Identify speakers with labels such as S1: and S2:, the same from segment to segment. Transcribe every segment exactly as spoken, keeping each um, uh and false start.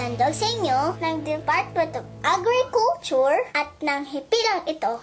S1: Handog sa inyo ng Department of Agriculture at ng hipilang ito.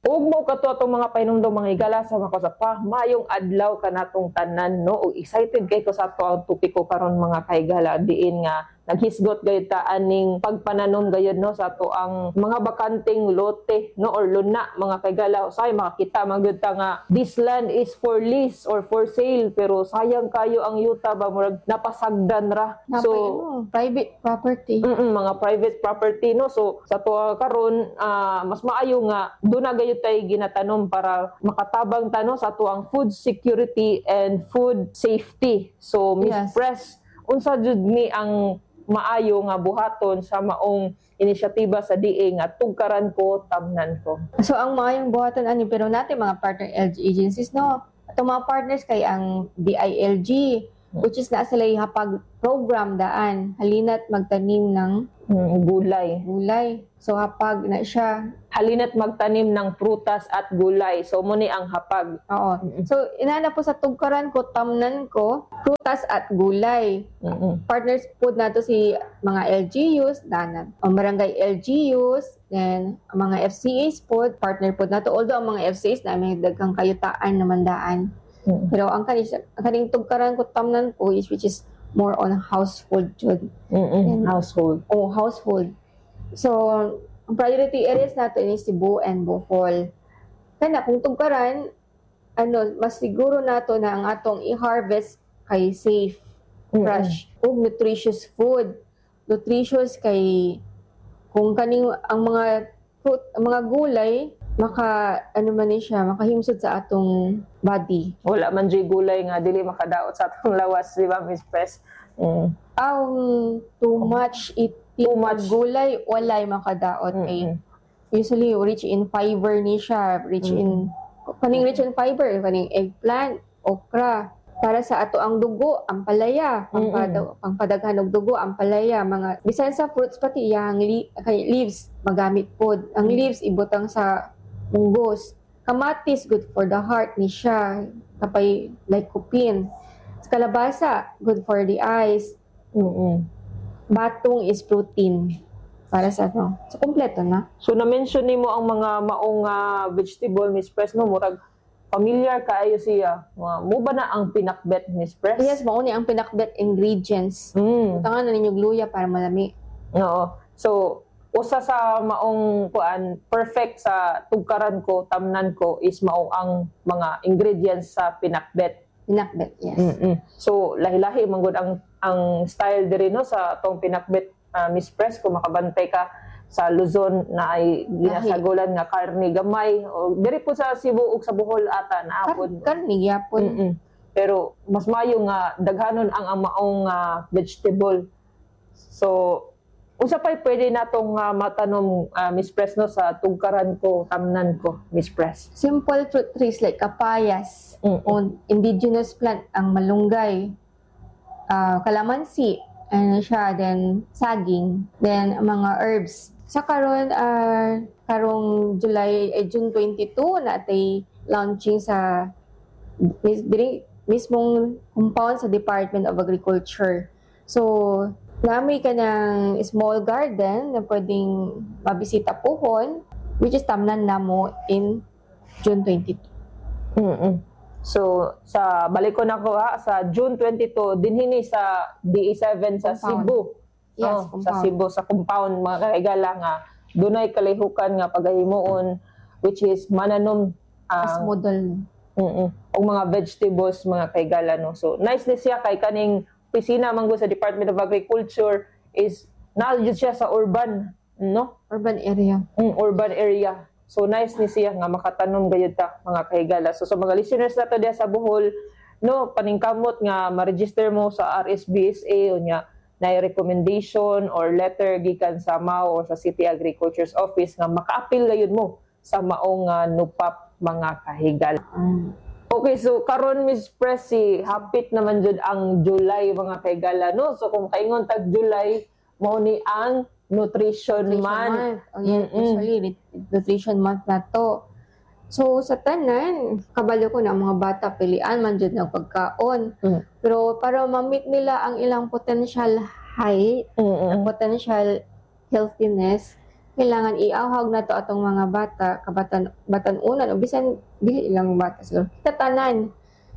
S2: Ug mao kato atong mga pahinumdom, mga higala, sa makasapa maayong adlaw kanatong tanan, no? Ug excited kay ko sa ato ang topiko karon, mga kahigala, diin nga naghisgot gayud ta aning pagpananom gayud, no, sa ato ang mga bakanteng lote, no, or luna, mga kahigala. Usahay makakita man gyud ta nga this land is for lease or for sale, pero sayang kayo ang yuta ba, murag napasagdan ra.
S3: Napay,
S2: so
S3: ano, private property.
S2: Mm, mga private property, no? So sa tuwa karon, ah, mas maayo nga duna gayud tay ginatanom para makatabang ta, no, sa atuang food security and food safety. So Miss
S3: Yes.
S2: Press, unsa jud ni ang maayo nga buhaton sa maong inisyatiba sa D A nga "Tugkaran ko, Tamnan Ko"?
S3: So ang maayong buhaton ani, pero natin mga partner L G agencies, no. Atong mga partners kay ang D I L G, which is naa sila hapag program daan, "Halina't Magtanim ng
S2: Mm, gulay.
S3: Gulay." So hapag na siya.
S2: "Halina't Magtanim ng Prutas at Gulay." So mao ni ang hapag.
S3: Oo. So inana po sa "Tugkaran ko, Tamnan Ko," prutas at gulay.
S2: Mm-mm.
S3: Partners po nato si mga L G Us, dana, ang barangay L G Us, then ang mga F C As po, partner po nato. Although ang mga F C As na may daghang kayutaan naman daan.
S2: Mm.
S3: Pero ang kaning ang kaning "Tugkaran ko, Tamnan Ko" is which is more on household jud.
S2: Mm-mm.
S3: And-
S2: Household.
S3: O household. So, ang priority areas nato is Cebu and Bohol. Kana kung tugkaran, ano, mas siguro nato na ang atong i-harvest kay safe, fresh, ug nutritious food. Nutritious kay kung kaning ang mga fruit, ang mga gulay maka ano man ni siya, makahimsod sa atong body.
S2: Wala man jud gulay nga dili makadaot sa atong lawas, di ba, Miss Press? Mm.
S3: Um, too much eating
S2: Too much.
S3: Gulay, walay makadaot kay
S2: Mm-mm.
S3: usually rich in fiber ni siya, rich in kaning rich in fiber, kaning eggplant, okra. Para sa ato ang dugo, ampalaya, pangpada, pangpadaghan og dugo, ampalaya, mga bisan sa fruits, pati iyang li, kay leaves magamit pod. Ang leaves ibutang sa munggos. Kamatis, good for the heart ni siya, kapay lycopene. Sa kalabasa, good for the eyes.
S2: Mm-mm.
S3: Batong is protein para sa ano. So kompleto na.
S2: So na-mention nimo ang mga maong ah, vegetable, Miss Press, no, murag familiar kaayo siya. Mga mao ba na ang pinakbet, Miss Press?
S3: Yes, mao ni ang pinakbet ingredients.
S2: Mm.
S3: Butangan na ninyo luya para malami.
S2: Oo. So usa sa maong kuan perfect sa "Tugkaran ko, Tamnan Ko" is maong ang mga ingredients sa pinakbet.
S3: Pinakbet, yes.
S2: Mm-mm. So lahi-lahi man gud ang ang style diri, no, sa atong pinakbet, ah, Miss Press. Kung makabantay ka sa Luzon na ay ginasagulan nga karne gamay o diri po sa Cebu ug sa Bohol ata naa
S3: Kar
S2: pod.
S3: Karne gyapon.
S2: Mm-mm. Pero mas mayo nga daghanon ang ang maong ah, vegetable. So unsa pay pwede natong ah, matanom, ah, Miss Press, no, sa "Tugkaran ko, Tamnan Ko," Miss Press?
S3: Simple fruit trees like kapayas,
S2: Mm-mm.
S3: o indigenous plant ang malunggay, ah, kalamansi, ano siya, then saging, then mga herbs. Sa karon, ah, karong July eh, June twenty-two natay launching sa mis, diri, mismong compound sa Department of Agriculture. So, nami ka ng small garden na pwedeng mabisita pohon, which is tamnan namo in June twenty-two.
S2: Mm-mm. So sa balik ko na ko ha, sa June twenty-two dinhi ni sa D A seven sa
S3: Compound.
S2: Cebu.
S3: Yes,
S2: Oh, sa
S3: compound.
S2: Cebu, sa compound, mga kaigala, nga dunay kalihukan nga pagahimuon, which is mananom
S3: As
S2: ang
S3: model.
S2: mm og mga vegetables, mga kaigala, no. So nice ni siya kay kaning opisina man gud sa Department of Agriculture is naa jud siya sa urban, no?
S3: Urban area.
S2: Mm, urban area. So nice ni siya nga makatanom gayud ta, mga kahigala. So sa mga listeners nato diya sa Bohol, no, paningkamot nga ma-register mo sa R S B S A unya na recommendation or letter gikan sa M A O or sa City Agriculture's Office nga maka-apil gayud mo sa maong uh, NUPAP, mga kahigala.
S3: Mm.
S2: Okay, so karon, Miss Pressy, hapit naman jud ang July, mga kahigala, no? So kung kaingon tag July, mao ni ang Nutrition
S3: Nutrition
S2: Month.
S3: Month. Oh, yeah,
S2: Mm-mm.
S3: usually, nut- nutrition month na to. So sa tanan, kabalo ko na ang mga bata pilian man jud ng pagkaon.
S2: Mm.
S3: Pero para ma-meet nila ang ilang potential height,
S2: Mm.
S3: potential healthiness, kailangan iawhag nato atong mga bata, kabatan batan-unan o bisan dili lang bata siguro. Tatanan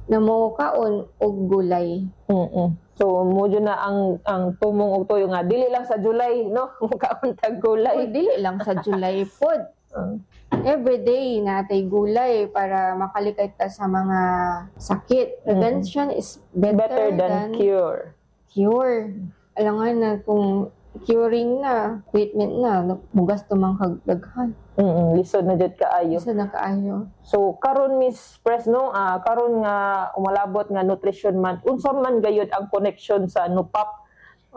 S3: na mo kaon og gulay.
S2: Mm. So mo jud na ang ang tumong og tuyo nga dili lang sa July, no? Mukaon tag
S3: Uy,
S2: gulay.
S3: dili lang sa July pod.
S2: Mm.
S3: Every day natay gulay para makalikay ta sa mga sakit. Prevention is better,
S2: Better than
S3: than
S2: cure.
S3: cure. Alangan na kung curing na, treatment na, mugasto man kag daghan.
S2: Mm, lisod na jud kaayo.
S3: Isa na kaayo.
S2: So karon, Miss Pres, no, ah, karon nga umalabot nga Nutrition Month, unsa man gayud ang connection sa NUPAP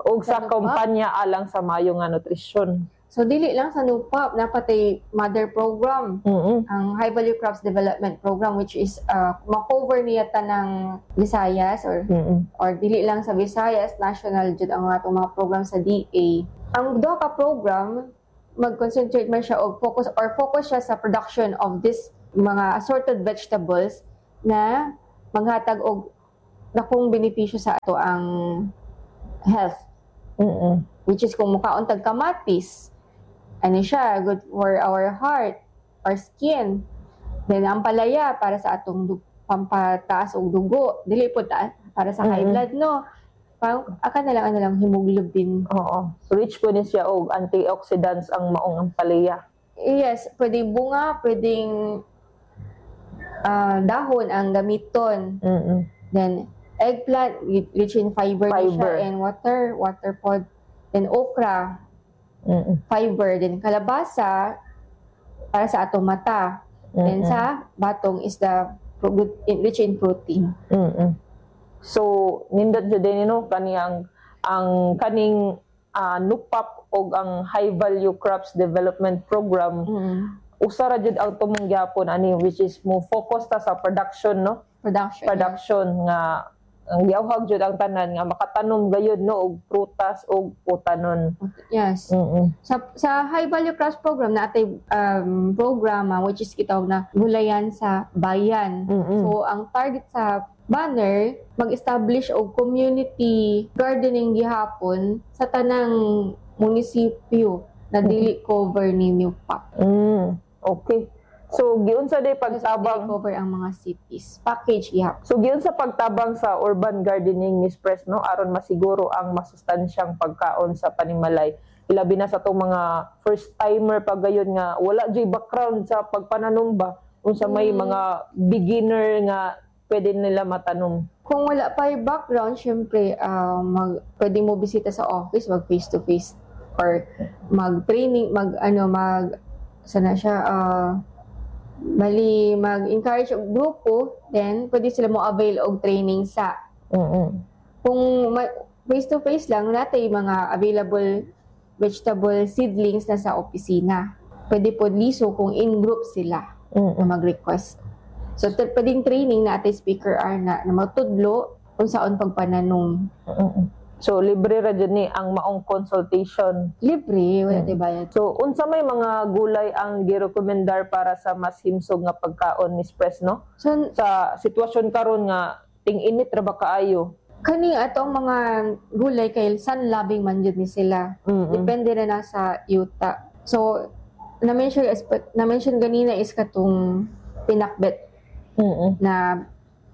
S2: ug sa
S3: Sa NUPAP?
S2: Kampanya alang sa Mayo nga Nutrisyon?
S3: So dili lang sa NUPAP, naa pa tay mother program,
S2: Mm.
S3: ang High Value Crops Development Program, which is uh, ma-cover niya tanang Visayas or
S2: Mm.
S3: or dili lang sa Visayas, national jud ang atong mga program sa D A. Ang duha ka program, mag-concentrate man siya og focus or focus siya sa production of this mga assorted vegetables na maghatag og dakong benepisyo sa ato ang health,
S2: Mm.
S3: which is kung mukaon tag kamatis, ano siya, good for our heart, our skin. Then ang palaya para sa atong du- pampataas og dugo, dili po ta para sa high
S2: Mm.
S3: blood, no, pang aka na lang, ano lang, hemoglobin.
S2: Oo. Rich po ni siya og antioxidants ang maong ampalaya.
S3: Yes, pwedeng bunga, pwedeng ah, dahon ang gamiton.
S2: Mm.
S3: Then eggplant, rich in fiber, ni siya
S2: Fiber.
S3: and water water pod. Then okra,
S2: Mm.
S3: fiber. Then kalabasa para sa atong mata. Then sa batong is the pro- good- rich in protein.
S2: Mm. So nindot jud din, no, kani ang ang kaning ah, NUPAP og ang High Value Crops Development Program, usa ra jud ang tumong gyapon ani, which is mo focus ta sa production, no?
S3: Production.
S2: Production nga ang giawhag jud ang tanan nga makatanom gayud, no, og prutas og utanon.
S3: Yes.
S2: Mm.
S3: Sa sa High Value Crops Program na atay um, programa which is gitawag na Gulayan sa Bayan.
S2: Mm.
S3: So ang target sa banner, mag-establish og community gardening gihapon sa tanang munisipyo na dili cover ni NUPAP.
S2: Mm. Okay. So giunsa day
S3: Dili
S2: pagtabang
S3: cover ang mga cities. Package gihapon.
S2: So giunsa pagtabang sa urban gardening, Miss Pres, no, aron masiguro ang masustansyang pagkaon sa panimalay, ilabi na sa atong mga first timer pa gayon nga wala juy background sa pagpananom ba, unsa may
S3: Mm.
S2: mga beginner nga pwede nila matanom?
S3: Kung wala pa yung background, syempre, ah, mag, pwede mo bisita sa office, mag face to face or mag-training, mag ano, mag sana siya, ah, bali mag-encourage og grupo, then pwede sila mo avail og training sa
S2: Mm.
S3: kung ma- face to face lang natay mga available vegetable seedlings na sa opisina. Pwede po liso kung in group sila
S2: Mm.
S3: na mag-request. So, t- pwedeng training na ate speaker are na, na matudlo kung saan pagpananom.
S2: Mm. So libre ra jud ni ang maong consultation?
S3: Libre, wala
S2: Mm.
S3: tay bayad.
S2: So unsa may mga gulay ang girekomendar para sa mas himsog nga pagkaon, Miss Pres, no?
S3: So,
S2: Sa sitwasyon karon nga ting-init ra ba kaayo?
S3: Kaning atong mga gulay kay sun loving man jud ni sila.
S2: Mm.
S3: Depende na na sa yuta. So, na-mention, na-mention ganina is katong pinakbet
S2: Mm.
S3: na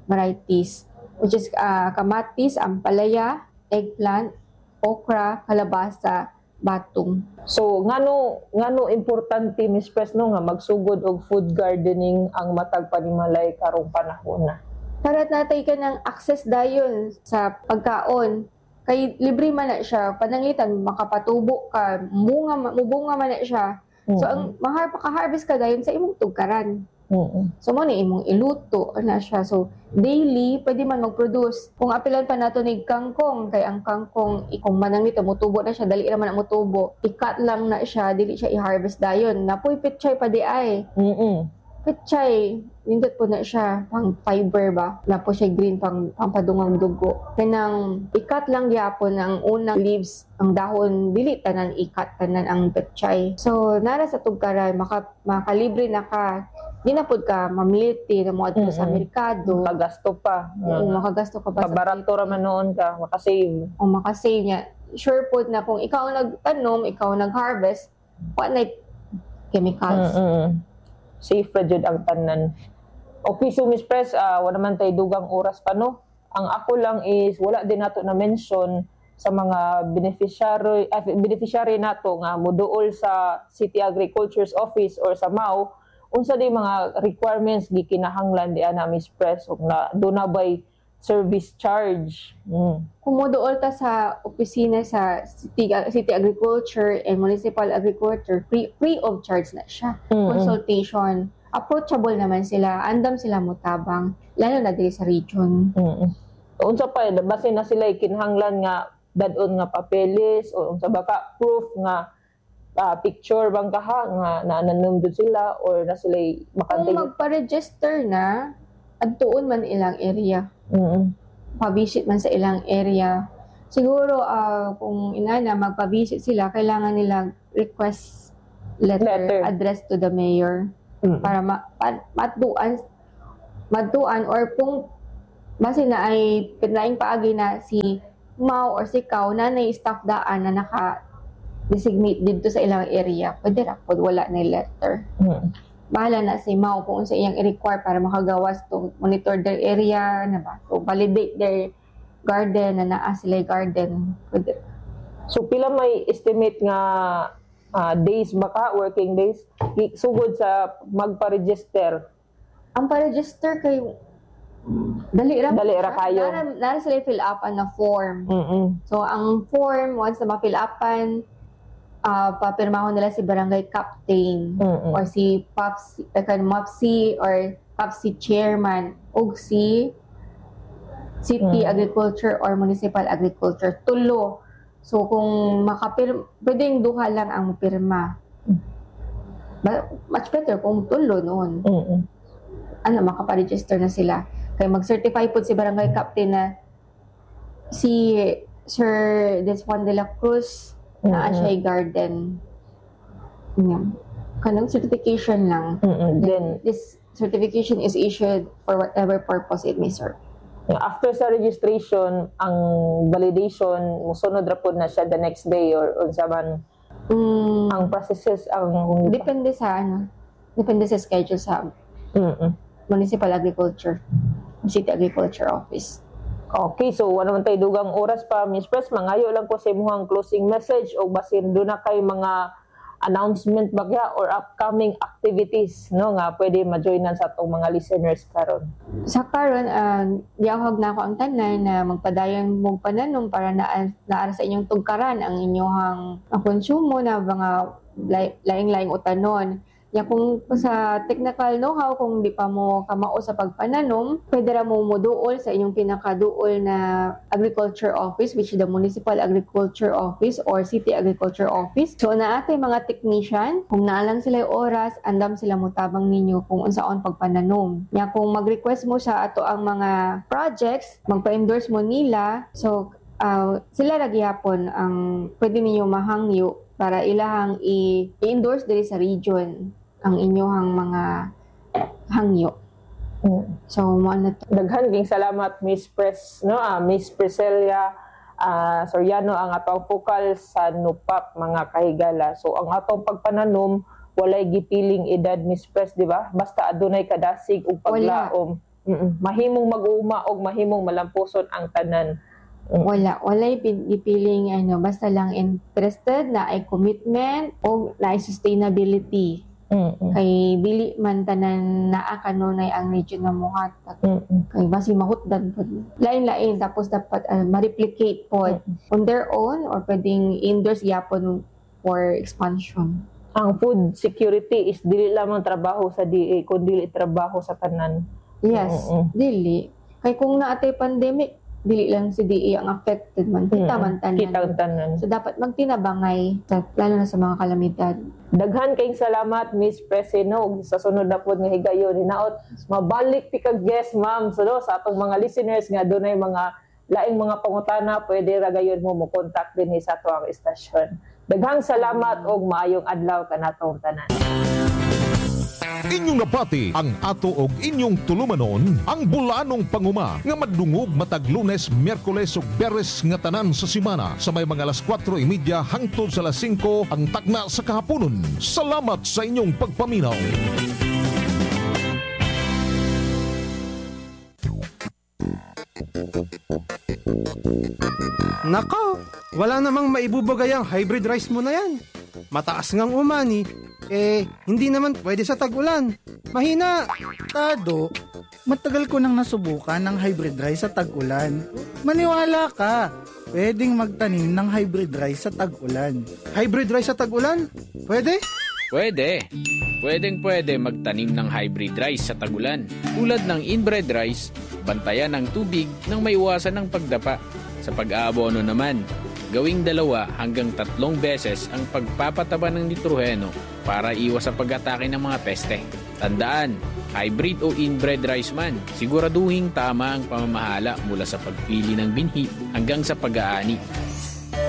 S3: varieties, which is ah, kamatis, ampalaya, eggplant, okra, kalabasa, batong.
S2: So ngano ngano importante, Miss Pres, no, nga magsugod og food gardening ang matag panimalay karong panahon na?
S3: Para natay ka ng access dayon sa pagkaon. Kay libre man na siya, pananglitan makapatubo ka, munga mubunga man na siya. So ang mahar maka-harvest ka dayon sa imong tugkaran.
S2: Mm.
S3: So mo ni imong iluto na siya. So daily pwede man mag-produce. Kung apilan pa nato ni kangkong, kay ang kangkong kung mananglita motubo na siya, dali ra man ang motubo. I-cut lang na siya, dili siya i-harvest dayon. Napoy pechay pa di ay.
S2: Mm.
S3: Pechay, nindot po na siya pang fiber ba. Na po siya green pang pampadungang dugo. Kanang i-cut lang gyapon ang unang leaves, ang dahon, dili tanan i-cut tanan ang pechay. So nara sa tugkaran maka makalibre na ka. Di na pud ka mamiliti na mo adto sa
S2: Mm-mm.
S3: merkado.
S2: Pagasto pa.
S3: Oo, makagasto ka pa sa
S2: Kabarato ra man noon ka, makasave.
S3: O makasave niya. Sure po na kung ikaw ang nagtanom, ikaw ang nag-harvest, wa na chemicals.
S2: Mm-mm. Safe ra jud ang tanan. Okay, so Miss Press, ah, wala man tay dugang oras pa, no. Ang ako lang is wala din nato na mention sa mga beneficiary ah, beneficiary nato nga moduol sa City Agriculture's Office or sa M A O, unsa di mga requirements gikinahanglan di ana, Miss Press, ug na duna bay service charge? Mm.
S3: Kung moduol ta sa opisina sa City, City Agriculture and Municipal Agriculture, free, free of charge na siya.
S2: Mm-mm.
S3: Consultation. Approachable naman sila. Andam sila motabang. Lalo na diri sa region.
S2: Mm. Unsa pa, basin na sila kinahanglan nga dad-on nga papeles o unsa ba ka proof nga ah, picture bang kaha nga naananom jud sila or na sila
S3: Kung
S2: bakante?
S3: magpa-register na, adtuon man ilang area.
S2: Mm.
S3: Pa-visit man sa ilang area. Siguro, ah, kung inana, magpa-visit sila, kailangan nila request letter,
S2: Letter.
S3: addressed to the mayor
S2: Mm.
S3: para ma, pa, matuan matuan or kung base na ay laing paagi na si M A O or si C A O na nay staff daan na naka designate dito sa ilang area, pwede ra pod wala na letter.
S2: Mm.
S3: Bahala na si M A O kung unsa iyang i-require para makagawas to monitor their area na ba, to validate their garden na naa sila garden, pwede.
S2: So pila may estimate nga ah, days baka, working days, Gi- sugod sa magpa-register?
S3: Ang pa-register kay dali ra.
S2: Dali ra kayo.
S3: Nara, nara sila fill up na form.
S2: Mm.
S3: So, ang form, once na ma-fill upan, uh, papirmahon nila si barangay captain
S2: Mm.
S3: or si P A P C, uh, kan M A P C or P A P C chairman ug si City
S2: Mm.
S3: Agriculture or Municipal Agriculture. Tulo. So, kung makapir pwedeng duha lang ang pirma. Ba- much better kung tulo noon.
S2: Mm.
S3: Ano, makapa-register na sila. Kaya mag-certify po si barangay captain na si Sir Desjuan de la Cruz naa
S2: Mm.
S3: siya garden. Yeah. Kanang certification lang.
S2: Mm. Then
S3: This certification is issued for whatever purpose it may serve.
S2: After sa registration, ang validation musunod ra pod na siya the next day or unsa man
S3: Mm,
S2: ang processes ang
S3: Depende sa ano, depende sa schedule sa
S2: Mm.
S3: Municipal Agriculture, City Agriculture Office.
S2: Okay, so wala man tayo dugang oras pa, Miss Press. Mangayo lang ko sa imuhang closing message o basin duna kay mga announcement bagya or upcoming activities, no, nga pwede ma-joinan sa atong mga listeners karon.
S3: Sa karon, uh, giawhag na ako ang tanan na magpadayon mong pananom para naa naa sa inyong tugkaran ang inyong ang konsumo na mga lay- laing-laing utanon. Ya kung sa technical know-how, kung di pa mo kamao sa pagpananom, pwede ra mo moduol sa inyong pinakaduol na agriculture office, which is the Municipal Agriculture Office or City Agriculture Office. So naa tay mga technician, kung naa lang sila oras, andam sila motabang ninyo kung unsaon pagpananom. Ya kung mag-request mo sa ato ang mga projects, magpa-endorse mo nila, so uh, sila ra gihapon ang pwede ninyo mahangyo para ilahang i- i-endorse diri sa region ang inyong mga hangyo. So, mo na to.
S2: Daghan king salamat, Miss Press, no, ah, Miss Priscilla ah, Soriano, ang atong focal sa NUPAP, mga kahigala. So ang atong pagpananom walay gipiling edad, Miss Press, di ba? Basta adunay kadasig ug paglaom. Mm-mm. Mahimong mag-uuma og mahimong malampuson ang tanan.
S3: Wala. Walay pin- gipiling ano, basta lang interested na ay commitment o na ay sustainability.
S2: Mm-mm.
S3: Kay dili man tanan naa kanunay ang region na muhatag.
S2: Mm-mm.
S3: Kay basi mahutdan pod. Lain-lain tapos dapat uh, ma-replicate pod on their own or pwedeng endorse gyapon for expansion.
S2: Ang food security is dili lamang trabaho sa D A kundi trabaho sa tanan.
S3: Yes,
S2: Mm-mm.
S3: dili. Kay kung naatay pandemic, dili lang si D A ang affected man. Kita
S2: Mm-mm.
S3: man tanan.
S2: Kita ang tanan.
S3: So dapat magtinabangay, lalo na sa mga kalamidad.
S2: Daghan kayong salamat, Miss Presino. Ug sa sunod na pod nga higayon, hinaot mabalik ti kag guest, ma'am. So no, sa atong mga listeners nga dunay mga laing mga pangutana, pwede ra gayon mo mo contact dinhi sa ato ang istasyon. Daghang salamat og maayong adlaw kanatong tanan.
S4: Inyong nabati ang ato og inyong tulumanon, ang Bulaanong Panguma nga madungog matag Lunes, Miyerkules ug Biyernes nga tanan sa semana sa may mga alas kwatro y medya hangtod sa alas singko ang takna sa kahaponon. Salamat sa inyong pagpaminaw.
S5: Nako, wala namang maibubagay ang hybrid rice mo na yan. Mataas ngang umani, eh hindi naman pwede sa tag-ulan. Mahina.
S6: Tado, matagal ko nang nasubukan ng hybrid rice sa tag-ulan. Maniwala ka, pwedeng magtanim ng hybrid rice sa tag-ulan.
S5: Hybrid rice sa tag-ulan? Pwede?
S7: Pwede. Pwedeng pwede magtanim ng hybrid rice sa tagulan. Tulad ng inbred rice, bantayan ng tubig nang maiwasan ng pagdapa. Sa pag-aabono naman, gawing dalawa hanggang tatlong beses ang pagpapataba ng nitroheno para iwas sa pag-atake ng mga peste. Tandaan, hybrid o inbred rice man, siguraduhin tama ang pamamahala mula sa pagpili ng binhi hanggang sa pag-aani.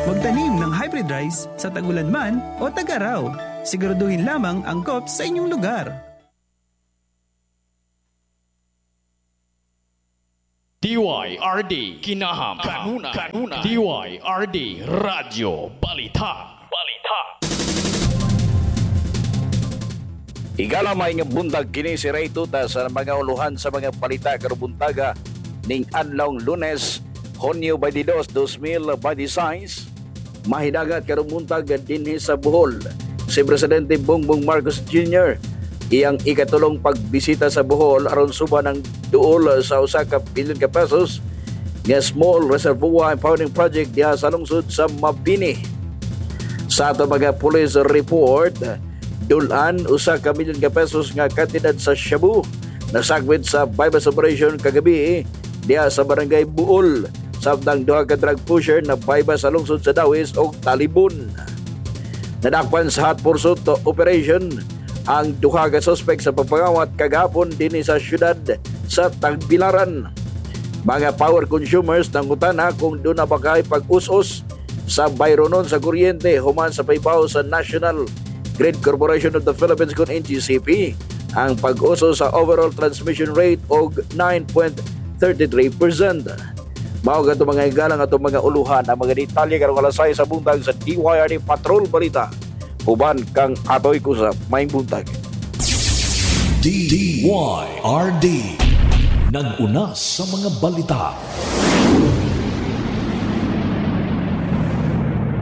S8: Magtanim ng hybrid rice sa tagulan man o tag-araw. Siguraduhin lamang angkop sa inyong lugar.
S9: D Y R D Kinaham Kanuna Kanuna D Y R D Radyo Balita Balita.
S10: Higala, maayong buntag, kini si Ray Tuta sa mga uluhan sa mga balita karong buntaga ning adlawng Lunes, Hunyo dalawampu't dalawa, dalawang libo dalawampu't sais. Mahidagat karong buntag dinhi sa Bohol si Presidente Bongbong Marcos Junior Iyang ikatulong pagbisita sa Bohol aron suba ng duol sa usa ka bilyon ka pesos nga small reservoir impounding project diha sa lungsod sa Mabini. Sa ato mga police report, dulan usa ka milyon ka pesos nga kantidad sa shabu nasakbit sa bypass operation kagabi diha sa Barangay Buol, samtang duha ka drug pusher na bypass sa lungsod sa Dauis og Talibon. Nadakpan sa hot pursuit operation ang duha ka suspect sa pagpangawat kagahapon dinhi sa syudad sa Tagbilaran. Mga power consumers nangutana kung duna ba kay pag-us-us sa bayronon sa kuryente human sa pahibaw sa National Grid Corporation of the Philippines kon N G C P ang pag-uso sa overall transmission rate og nine point three three percent. Mao kato, mga higala, nga atong mga uluhan. Ang mga detalye karong alas sais sa buntag sa D Y R D Patrol Balita. Uban kang Atoy Kusap. Maayong buntag.
S9: D Y R D. Nag-una sa mga balita.